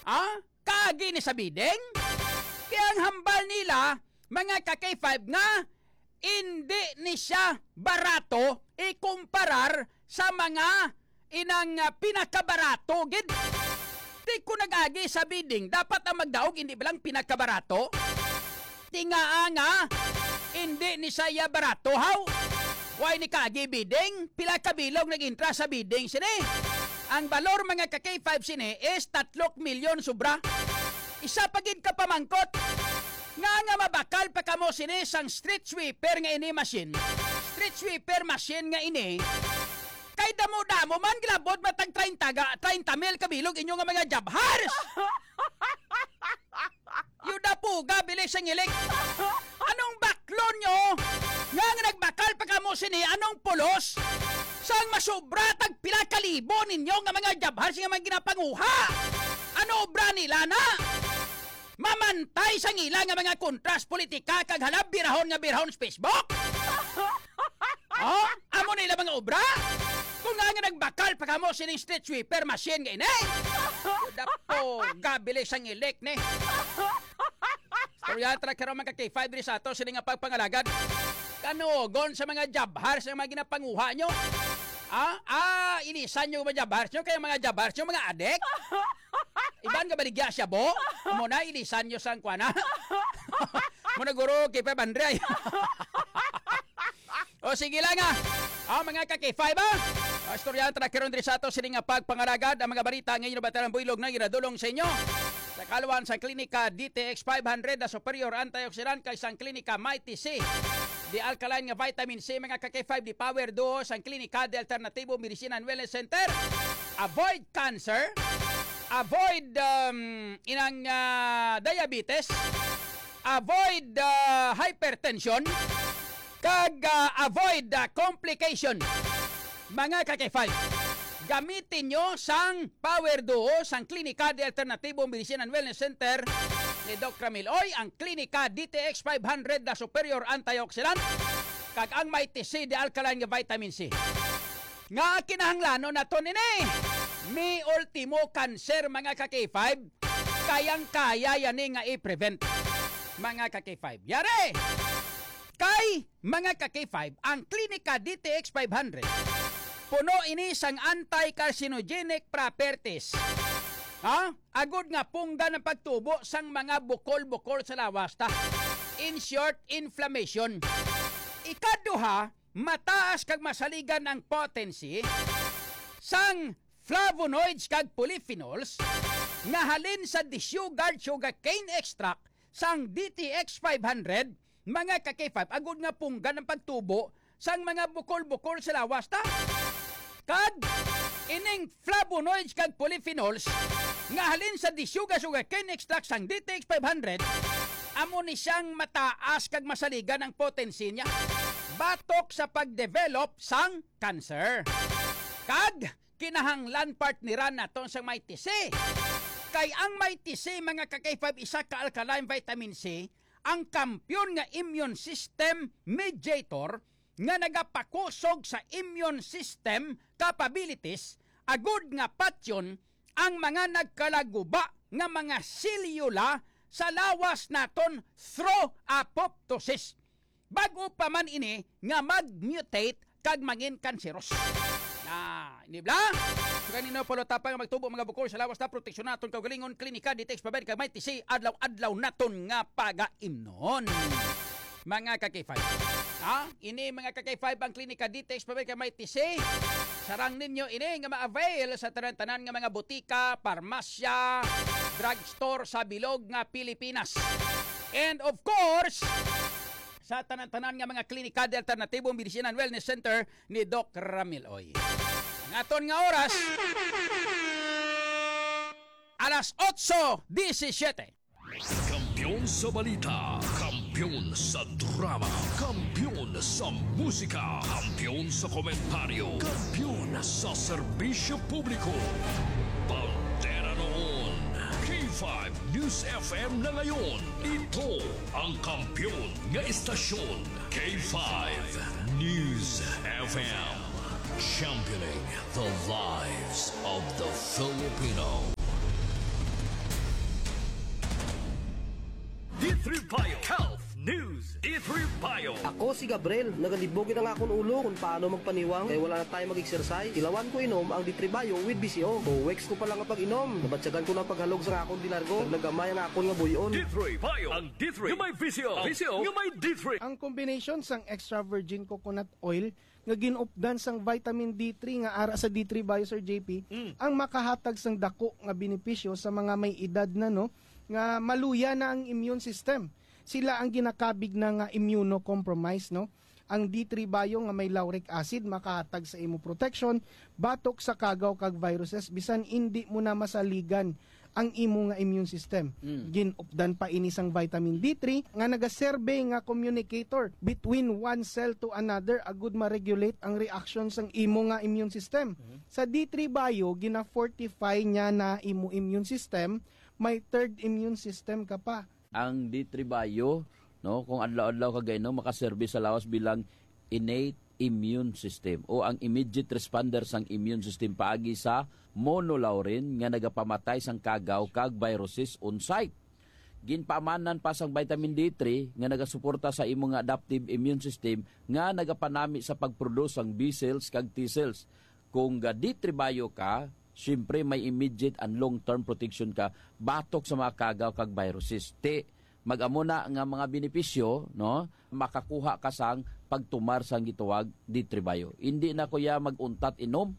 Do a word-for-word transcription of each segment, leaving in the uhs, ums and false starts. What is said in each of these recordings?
Ah? Kaagi ni sa bidding? Kaya ang hambal nila, mga ka-K five, nga hindi ni siya barato ikumparar sa mga inang, ah, pinakabarato gid. Di ko nag-agi sa bidding, dapat ang magdaog hindi ba lang pinakabarato? Tingaa nga, hindi ni siya barato, haw? Why ni kaagi bidding? Pila ka bilog nag-intra sa bidding sini? Ang balor, mga ka-K five, sini is tatlok milyon sobra. Isa pa gid ka pamangkot. Nga nga mabakal pa kamo sini sang street sweeper nga ini machine? Street sweeper machine nga ini. Kay damo-damo man, gilabot matag treinta ga, treinta mil kabilog inyo nga mga jabhars. Yuda puga, bilis ang ilik. Anong baklon nyo? Nga nga nagbakal pa kamo sini, anong pulos? Sang masubra tag pila ka libo ninyo nga mga jabhars nga mga ginapanguha? Ano obra nila na? Mamantay sang ila nga mga kontras politika kag halab birahon nga birahon sa Facebook? Oh, amo na ila mga obra? Kung nga nga nagbakal pa kamo sining street sweeper machine nga ini? Dapo, gabili sang ilik ni. Storya ta karon, mga ka-K five, diri sa ato sini nga pagpangalagad. Kanugon sa mga jabhars nga mga ginapanguha nyo. Ah, ah, ilisan nyo mga jabhars nyo, kaya mga jabhars nyo, mga adik. Iban nga baligya siya, bo? Amo na, ilisan nyo sang kuana. Mo na, guro, kay Pep Andre. O, sige lang, ah. Ah, mga ka-K five, ah. Ah, istoryahan ta na karon diri sa ato sini nga pagpangalagad ang mga balita nga inyo nabatian ang buylog na ginadulong sa inyo sa kaluan sa Klinika D T X five hundred na superior antioxidant kay sang Klinika Mighty C. Di alkaline nga vitamin C, mga ka-K five, di Power Duo sang Klinika de Alternatibo Medicine and Wellness Center. Avoid cancer. Avoid, um, inang, ah, diabetes. Avoid, ah, hypertension. Kag, ah, avoid, ah, complication. Mga ka-K five, gamitin nyo sang Power Duo sang Klinika de Alternatibo Medicine and Wellness Center ni Doc Ramil Oy, ang Klinika D T X five hundred na superior antioxidant kag ang Mighty C de alkaline nga vitamin C. Nga kinahanglanon naton ini. Mi ultimo cancer, mga ka-K five, kayang-kaya yani nga i-prevent, mga ka-K five. Yari! Kay, mga ka-K five, ang Klinika D T X five hundred, puno ini sang anti-carcinogenic properties. Ha? Agud nga punggan ang pagtubo sang mga bukol-bukol sa lawas ta. In short, inflammation. Ikaduha, mataas kag masaligan ang potency sang flavonoids kag polyphenols nga halin sa desugared sugarcane extract sang D T X five hundred, mga ka-K five, agud nga punggan ang pagtubo sang mga bukol-bukol sa lawas ta. Kag ining flavonoids kag polyphenols nga halin sa desugared sugarcane extract sang D T X five hundred, amo ni siyang mataas kag masaligan ang potency niya batok sa pag-develop sang cancer. Kag kinahanglan partneran naton sang Mighty C. Kay ang Mighty C, mga ka-K five, isa ka alkaline vitamin C, ang kampiyon nga immune system mediator nga nagapakusog sa immune system capabilities, agud nga patyon ang mga nagkalaguba nga mga selyula sa lawas naton through apoptosis. Bag-o pa man ini nga mag-mutate kag mangin kanseros. Ah, ini bala? So, kanino pala tapang nga magtubo mga bukol sa lawas ta, proteksyon naton kaugalingon, Klinika D T X five hundred kag Mighty C, adlaw-adlaw naton nga pagaimnon. Mga ka-K five. Ha? Ini, mga ka-K five, ang Klinika D T X five hundred kag Mighty C. Sarang ninyo ini nga ma-avail sa tanan-tanan nga mga butika, parmasya, drugstore sa bilog nga Pilipinas. And of course, sa tanan-tanan nga mga klinika de alternatibo, medicine and wellness center ni Doc Ramil Oy. Ang aton nga oras, alas otso disisiete. Kampiyon sa balita, kampiyon sa drama, kampiyon sa musika, kampiyon sa komentaryo, kampiyon sa serbisyo publiko. Bandera noon, K five News F M na ngayon. Ito ang kampiyon nga istasyon, K five News F M. Championing the lives of the Filipino. Bio Health News, D three Bio. Ako si Gabriel. Nagalibog ang akon ulo kung paano magpaniwang kay wala na tayo mag-exercise. Ilawan ko inom ang D three Bio with B C O. O weeks ko pa lang ang pag-inom. Nabatyagan ko na ang paghalog sa akon dilargo. Naggamay ang akon nga buyon. D three Bio. Ang D three nga may V C O. V C O nga may D three. Ang combination sang extra virgin coconut oil nga ginupdan sang vitamin D three nga ara sa D three Bio, Sir J P, Mm. ang makahatag sang dako nga benepisyo sa mga may edad na, no, nga maluya na ang immune system. Sila ang ginakabig na nga immunocompromised, no? Ang D three Bio nga may lauric acid makahatag sa imo protection batok sa kagaw kag viruses bisan indi mo na masaligan ang imo nga immune system. Mm. Ginupdan pa ini sang vitamin D three nga nagaserbe nga communicator between one cell to another, agud ma-regulate ang reaction sang imo nga immune system. Mhm. Sa D three Bio, gina-fortify niya na imo immune system, may third immune system ka pa. Ang D three Bio, no, kung adlaw-adlaw ka gainom, makaserbi sa lawas bilang innate immune system o ang immediate responder sang immune system paagi sa monolaurin nga nagapamatay sang kagaw kag viruses on site. Ginpaamanan pa sang vitamin D three nga nagasuporta sa imo nga adaptive immune system nga nagapanami sa pag-produce sang B cells kag T cells. Kung ga D three Bio ka, siyempre may immediate and long-term protection ka batok sa mga kagaw kag viruses. Ti, mag-amo na nga mga benepisyo, no? Makakuha ka sang pagtumar sang gitawag D three Bio. Hindi na ko ya mag-untat inom,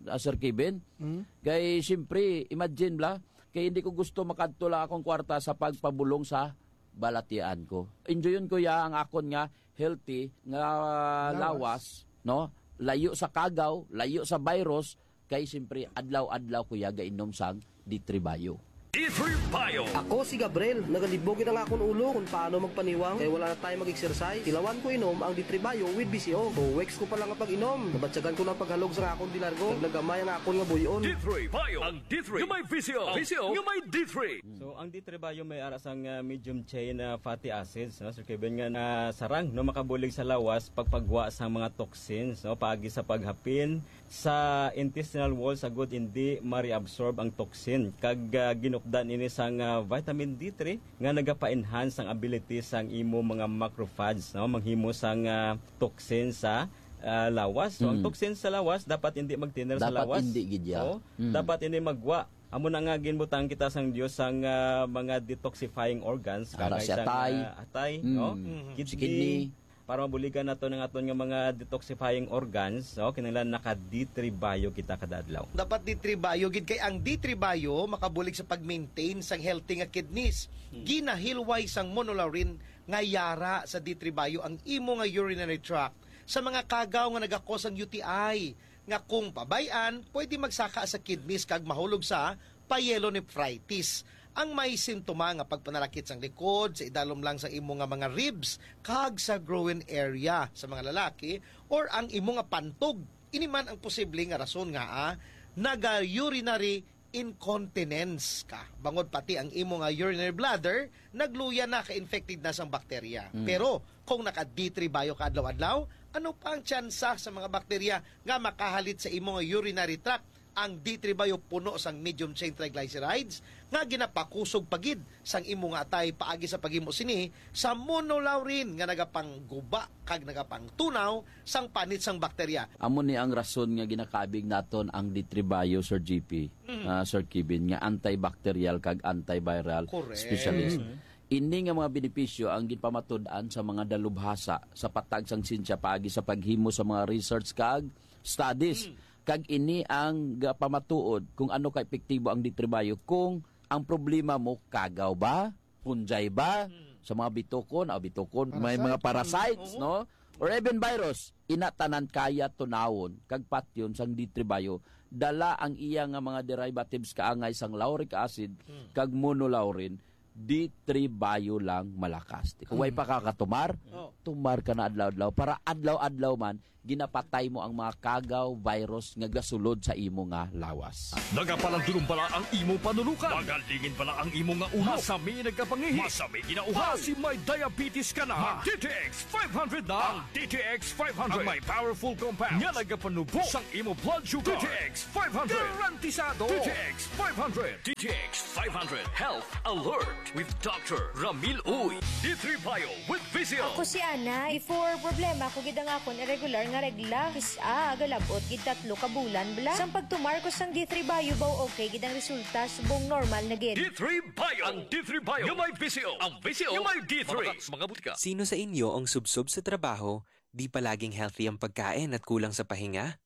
ah, Sir Kevin. Mm. Kay, siyempre, imagine bla, kay hindi ko gusto makadto lang akong kwarta sa pagpabulong sa balatian ko. Enjoyon ko ya ang akon nga healthy nga Lawas. lawas, no? Layo sa kagaw, layo sa virus, kay siyempre adlaw-adlaw ko ya gainom sang D three Bio. D three Bio. Ako si Gabriel. Nagalibog ang akon ulo kung paano magpaniwang kay wala na tayo mag-exercise. Ilawan ko inom ang D three Bio with B C O. O weeks ko pa lang ang pag-inom. Nabatyagan ko na ang paghalog sa akon dilargo. Naggamay ang akon nga buyon. D three Bio. Ang D three nga may V C O. V C O nga may D three. So, ang D three Bio may ara sang, ah, medium chain, ah, fatty acids, no? Sir Kevin, nga nasarang, no, makabulig sa lawas pagpagwa sa mga toxins, no, paagi sa paghapin sa intestinal wall, sa gud hindi ma-reabsorb ang toxin. Kag, ah, ginupdan ini sang, ah, vitamin D three nga nagapa-enhance ang ability sang imo mga macrophage, no, manghimo sang, ah, toxin sa, ah, lawas. So, ang Mm. toxin sa lawas dapat hindi magtiner sa Dapat lawas. hindi gid ya. Oo. Mm. Dapat ini magwa. Amo na nga ginbutang kita sang Dios sang, ah, mga detoxifying organs, Ara kagay si sang, atay. ah, atay, Mm. no? Mhm. Kidney, Si kidney. para mabuligan nato ang aton nga mga detoxifying organs, no? Kinahanglan naka D three Bio kita kada adlaw. Dapat D three Bio gid, kay ang D three Bio makabulig sa pag-maintain sang healthy nga kidneys. Hmm. Ginahilway sang monolaurin nga yara sa D three Bio ang imo nga urinary tract sa mga kagaw nga nagakos ang U T I, nga kung pabay-an, pwede magsaka sa kidneys kag mahulog sa pyelonephritis. Ang may sintoma nga pagpanalakit sang likod, sa idalom lang sa imo nga mga ribs, kag sa groin area sa mga lalaki, or ang imo nga pantog. Ini man ang posible nga rason nga, ah, naga-urinary incontinence ka. Bangod pati ang imo nga urinary bladder, nagluya na, ka-infected na sang bakterya. Mm. Pero kung naka D three Bio ka adlaw-adlaw, ano pa ang tsansa sa mga bakterya nga makahalit sa imo nga urinary tract? Ang D three Bio puno sang medium chain triglycerides nga ginapakusog pa gid sang imo nga atay paagi sa paghimo sini sa monolaurin nga nagapangguba kag nagapangtunaw sang panit sang bakterya. Amo ni ang rason nga ginakabig naton ang D three Bio, Sir G P, Mm. ah, Sir Kevin, nga antibacterial kag antiviral Correct. specialist. Mm. Ini nga mga benepisyo ang ginpamatud-an sa mga dalubhasa sa patag sang siyensya paagi sa paghimo sa mga research kag studies. Mm. Kag ini ang gapamatuod kung ano ka epektibo ang D three Bio kung ang problema mo kagaw ba, fungi ba, Mm. sa mga bitukon, ah, bitukon, may Parasite. mga parasites, Mm. Oo. no? Or even virus, ina tanan kaya tunawon kag patyon sang D three Bio, dala ang iya nga mga derivatives kaangay sang lauric acid Mm. kag monolaurin, D three Bio lang malakas. Kung way Mm. pa ka katumar, Oh. tumar ka na adlaw-adlaw para adlaw-adlaw man ginapatay mo ang mga kagaw, virus nga gasulod sa imo nga lawas. Nagapalandulong bala ang imo panulukan? Magalingin bala ang imo nga ulo? Masami nagkapangihi? Masami ginauhaw? Basi may diabetes ka na? Mag D T X five hundred na. Ang D T X five hundred ang may powerful compound nga nagapanubo sang imo blood sugar. D T X five hundred. Garantisado. D T X five hundred. D T X five hundred Health Alert with Doctor Ramil Uy. D three Bio with Visil. Ako si Ana. Before, problema ko gid ang akon irregular nga regla. Kis-a, galabot gid tatlo ka bulan bala. Sang pagtumar ko sang D three Bio, baw okay gid ang resulta, subong normal na gid. D three Bio. Ang D three Bio nga may Visil. Ang Visil nga may D three. Mabaka sa mga butika. Sino sa inyo ang subsob sa trabaho, di palaging healthy ang pagkain at kulang sa pahinga?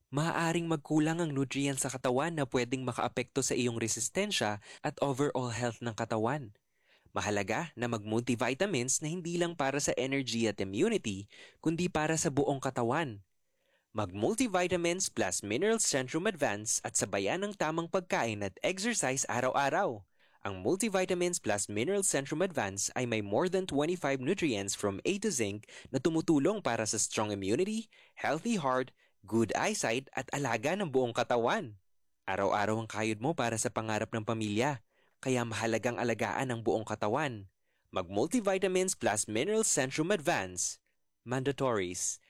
Maaaring magkulang ang nutrients sa katawan na pwedeng makaapekto sa iyong resistensya at overall health ng katawan. Mahalaga na mag-multivitamins na hindi lang para sa energy at immunity, kundi para sa buong katawan. Mag-multivitamins plus minerals Centrum Advance at sabayan ng tamang pagkain at exercise araw-araw. Ang Multivitamins plus Minerals Centrum Advance ay may more than twenty-five nutrients from A to zinc na tumutulong para sa strong immunity, healthy heart, good eyesight, at alaga ng buong katawan. Araw-araw ang kayod mo para sa pangarap ng pamilya, kaya mahalagang alagaan ang buong katawan. Mag-Multivitamins plus Minerals Centrum Advance. Mandatories.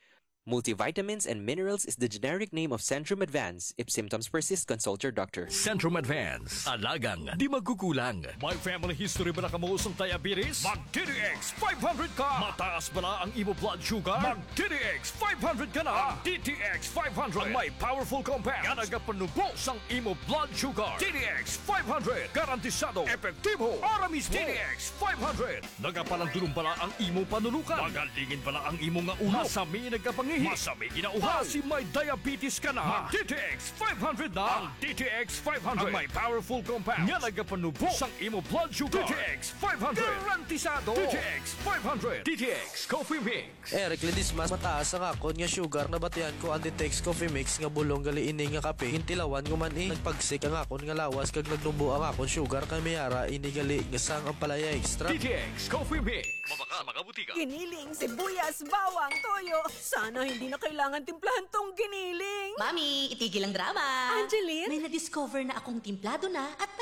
Multivitamins and minerals is the generic name of Centrum Advance. If symptoms persist, consult your doctor. Centrum Advance. Alagang di magkukulang. May family history ba na kamo sang diabetes? Mag D T X five hundred ka. Mataas ba na ang imo blood sugar? Mag D T X five hundred ka na. Ang D T X five hundred ang may powerful compound nga nagapanubo sang imo blood sugar. D T X five hundred. Garantisado, epektibo, ora mismo. D T X five hundred. Nagapalandulong bala ang imo panulukan? Magalingin bala ang imo nga ulo? Masami nagkapangihi? Masami ginauhaw? Basi may diabetes ka na? Mag D T X five hundred na. Ang D T X five hundred ang may powerful compound nga nagapanubo sang imo blood sugar. D T X five hundred. Garantisado. D T X five hundred. D T X Coffee Mix. Eric Ledesma, mataas ang akon nga sugar. Nabatian ko ang D T X Coffee Mix nga bulong gali ini nga kape. Gintilawan ko man, eh. Nagpagsik ang akon nga lawas kag nagnubo ang akon sugar, kay may ara ini gali nga sang ampalaya extra. D T X Coffee Mix. Mabaka sa mga butika. Giniling, sibuyas, bawang, toyo. Sana hindi na kailangan timplahan tong giniling. Mami, itigil ang drama. Angeline? May na-discover na akong timplado na at may